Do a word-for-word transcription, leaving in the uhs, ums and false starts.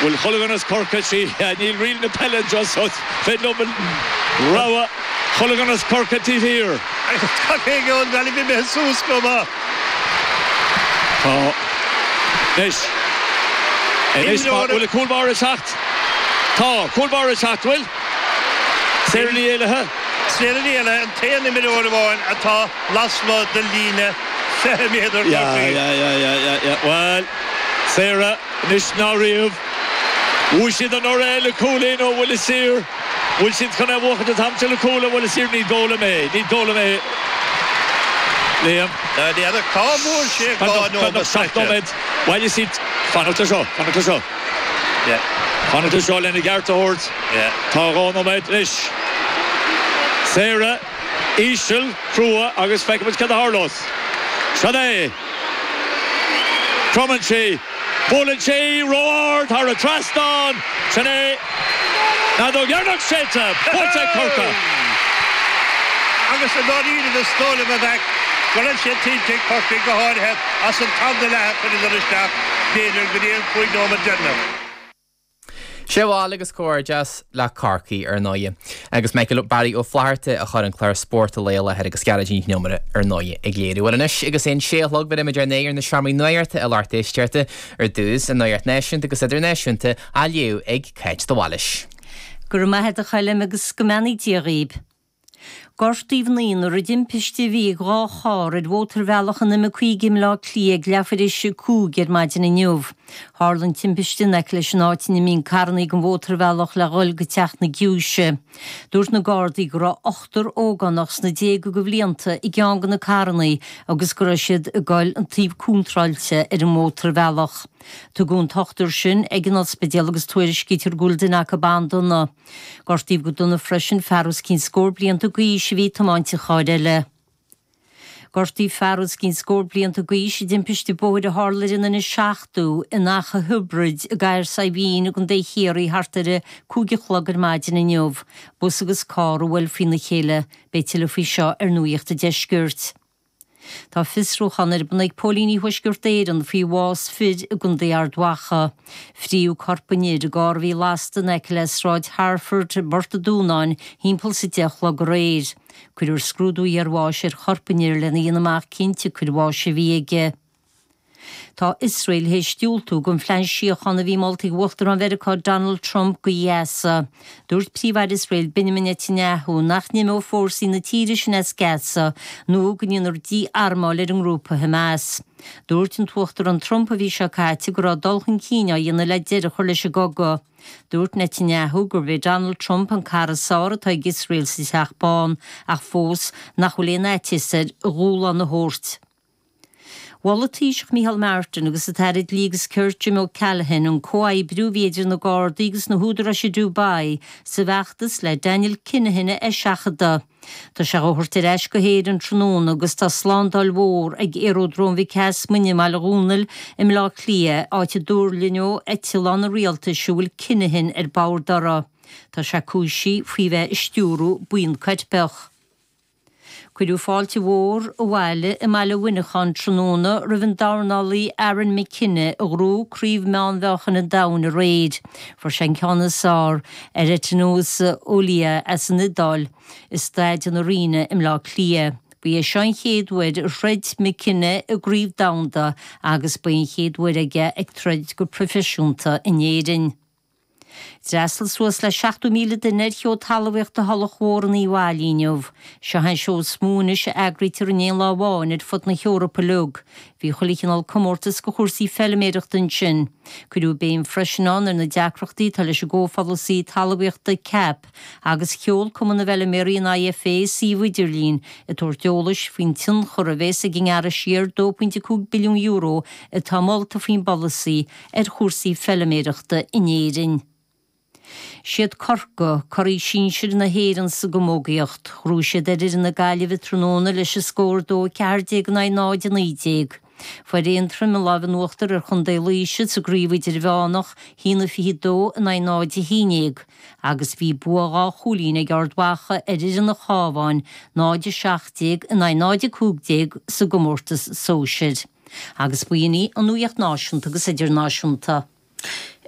Bhfuil chuile dhuine as Corcaigh sí níl riail na peile just féidir liom rogha chuile dhuine as Corcaigh taobh thiar. Tá an bhí mé suas go maith. Tá Anois Anois bhfuil cúl báire ag teacht Tá cúl báire ag teacht bhfuil Sarah Ní Éalaithe Sarah Ní Éalaithe an t-aon imreoir amháin atá lasmuigh den líne fiche méadar. Yeah, yeah, yeah, yeah, yeah, yeah. Well, Sarah anois ná riamh. Bhuaigh siad anuraidh le cúilín ó bhuille saor. Bhfuil siad chun é a bhuachan an t-am seo le cúl ó bhuille saor ní dóigh liom é. Ní dóigh liom é. Liam. N'fheadar cá bhfuair sé dhá nóiméad Seacht nóiméad. Bhuel, you see, fanacht le seo, fanacht le seo. Yeah. Fanacht le seo lena gceart a thabhairt. Yeah. Tá dhá nóiméad anois. Sarah, íseal, crua agus feicfimid cad a tharlós. Sin é. Cromann sí. Buaileann sí ró-ard thar an trasnán. Sin é. Feadóg dheireanach séidte. Buaite ag Corcaigh. Agus i ndáiríre is dóigh liom a bheadh go raibh sé tuillte ag Corcaigh go háirithe as an t-am leath a chuireadar isteach b'fhéidir go dtí an cúig nóiméad deireanach. Sé bháil agus comhghairdeas le Corcaigh ar ndóigh. Agus Michael Barry Ó Flatharta a chur an clár spóirt a léile agus Gearóidín Ní Chonaire ar ndóigh ag léiriú. Well anois agus é sé a chlog beimid ar ar na seomraí nuachta a lucht éisteachta ar dtús an nuacht náisiúnta agus idirnáisiúnta á léamh ag Cáit de Bhailís. Go raibh maith agat a Choilm agus go mbeannaí Dia dhaoibh. Gortaíodh naonúr i dtimpiste a bhí ag dhá charr ar mhótarbhealach an M cúig i mBleá Cliath ag leathuair théis a cúig ar maidin inniu. Tharla an timpiste in aice leis an áit ina mbíonn carrannaí den mhótarbhealach le dhul go teach na Giúise. Dúirt na Gardaí go raibh ochtar ógánach sna déaga de bhlianta i gceann de na carrannaí agus go raibh siad ag goil an taobh contráilte ar an mhótarbhealach. Tugadh an t-ochtar sin ag an ospidéal agus tuairiscítear go bhfuil duine acu an-dona. Gortaíodh go dona freisin fear os cionn scór blianta d'aois a bhí ag tiomáint an chairr eile. Gortaíodh fear os cionn scór blianta d'aois i dtimpiste bóthair a tharla ar an N seachtó in Achadh Thiobraid i gCathair Saidhbhín i gContae Chiarraí thart ar a cúig a chlog ar maidin inniu. Bus agus carr a bhuail faoina chéile. Beidh tuilleadh faoi seo ar Nuacht an Deiscirt. Tá fiosrúchán ar bun ag Póilíní Thuaisceart Éireann faoi bhás fir i gContae Ard Mhacha. Fríodh corp an fhir i gcarr a bhí lasta in aice le Sráid Harford i bPort an Dúnáin thimpeall is a deich a chlog aréir. Cuirfear scrúdú iarbháis ar chorp an fhir lena dhéanamh amach cinnte cén bháis a bhí aige. Tá Iosrael théis diúltú don phlean síochána a bhí molta ag Uachtarán Mheiriceá Donald Trump go Gaza. Dúirt Príomh-Aire Iosrael Benjamin Netanyahu nach n-imeodh fórsaí na tíre sin as Gaza nó go ndéanfar dí-armáil ar an ngrúpa Hamas. Dúirt an tUachtarán Trump an mhí seo caite go raibh dul chun cinn á dhéanamh le deireadh a chur leis an gcogadh. Dúirt Netanyahu gurb é Donald Trump an cara is fearr atá ag Iosrael sa Teach Bán ach fós nach bhfuil aon fhaitíos air a dhúshlán a thabhairt. Mhol an Taoiseach Micheál Martin agus an tAire Dlí agus Cirt Jim O'Callaghan an comhoibriú a bhí idir na Gardaí agus na húdaráis i Dubai sa bhfeachtas le Daniel Kinahan a eiseachadadh. Tá sé á thabhairt ar ais go hÉirinn tráthnóna agus tá slándáil mhór ag Aeródróm Mhic Easmuinn i mBaile Dhúnail i mBleá Cliath, áit a dtuirlingeoidh eitleán an rialtais a bhfuil Kinahan ar bord uirthi. Tá sé cúisithe faoi bheith ag stiúradh buíon coirpeach. Cuireadh fáilte mhór abhaile i mbaile Mhuineacháin tráthnóna roimh an dornálaí Aaron McKenna a ghnóthaigh Craobh Meánmheáchain an Domhain aréir. Fuair sé an ceann is fearr ar Etinosa Olia as an Iodáil i Staid an Arena i mBleá Cliath. Ba é seo an chéad uair a throid McKenna i gcraobh domhanda agus ba é an chéad uair aige ag troid go proifisiúnta in Éirinn. D'fhreastail suas le seachtó míle duine ar Sheó Talmhaíochta Thulach Mhór in Uíbh Fhailí inniu. Seo an seó is mó anois a eagraítear in aon lá amháin ar fud na hEorpa uilig. Bhí chuile chineál comórtas do chúrsaí feilméarachta ansin. Cuireadh béim freisin ann ar na deacrachtaí atá leis an gcomhpholasaí talmhaíochta CAP agus sheol Cumann na bhFeilméaraí an IFA suíomh idirlín ag tabhairt eolais faoin tionchar a bheas ag an ngearradh siar dó pointe cúig billiún euro atá molta faoin bpolasaí ar chúrsaí feilméarachta in Éirinn. Siad Corcaigh, curaidh sinsir na hÉireann sa gcamógaíocht. Ghnóthaigh siad ar fhoireann na Gaillimhe tráthnóna leis an scór dó a ceathair déag in aghaidh náid a naoi déag. Fuair Aontroim an lámh in uachtar ar Chontae Laoise sa gcraobh idirmheánach, haon a fiche dó in aghaidh náid a haon déag, agus bhí bua dhá chúilín ag Ard Mhacha ar fhoireann an Chabháin, náid a seacht déag in aghaidh náid a cúig déag sa gcomórtas sóisir. Agus b'in í an nuacht náisiúnta agus idirnáisiúnta.